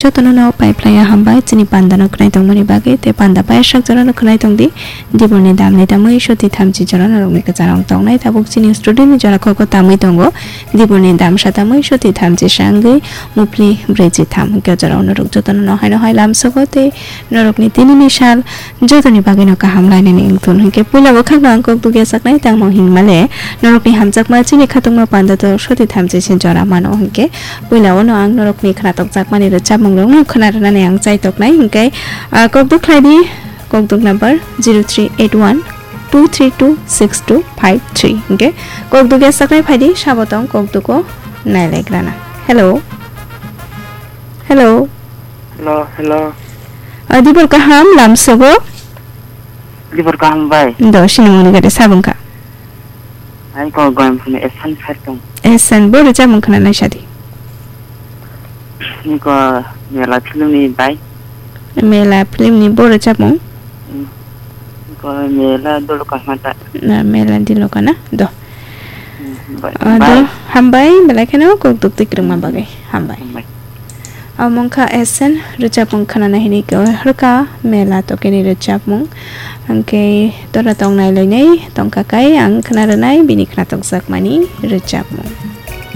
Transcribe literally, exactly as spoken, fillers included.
Jotono no pai phlaiya hambai chini panda no khwnai tongmani bagwi tei panda pai sak jora no khwnai tongdi. Dibor ni dam ni tamwi soti thamchi jora norok ni kwcharo wng tongnai tabuk chini studio ni jora kok o tamwi tongo. Dibor ni dam sa tamwi soti thamchi sa wngwi mupli brwi chi tham hwnkhe jora o norok jotono no hai no hai lam sogo tei norok ni tini ni sal jotoni bagwi no kaham lainani wngthun hwnkhe puila bwkhak no ang kok dugya saknai tangmo hinmale norok ni hamjakma chini khatungma panda to soti thamchi se jora mano hwnkhe. Puila o no ang norokni khwnathokjakmani rwchapmungrokno khwna rwnani ang chaitoknai, hwnkhe, ah, kok duk khlai di, kok duk number zero three eight one two three two six two five three, hwnkhe kok duk ya saknai phai di, sabo tong kok duko nailaigrana. Hello. Hello. Hello, hello. Ah, dibor kaham, lamsogo? Dibor kaham bai. Do, sinimungni gade sabungkha. Ai ko goyam phone esan sar tong. Esan, bo rwchapmung khwna nai sadi. Ni ko mela film ni bai. Mela film ni bo rwchapmung? Hmm. Ni ko mela dolo kahmata. Na mela dilo kana? Do. Hmm, bai. Ah, do, bai. Hambai, belai kheno kok duk twi kwrwngma bagwi. Hambai. Hambai. Omo wngkha S N rwchapmung khwnana hini khe rwkha mela tokeni rwchapmung. Hwnkhe tora tong nai loinai tongkha kai ang khwna rwnai bini khwnathokjakmani rwchapmung.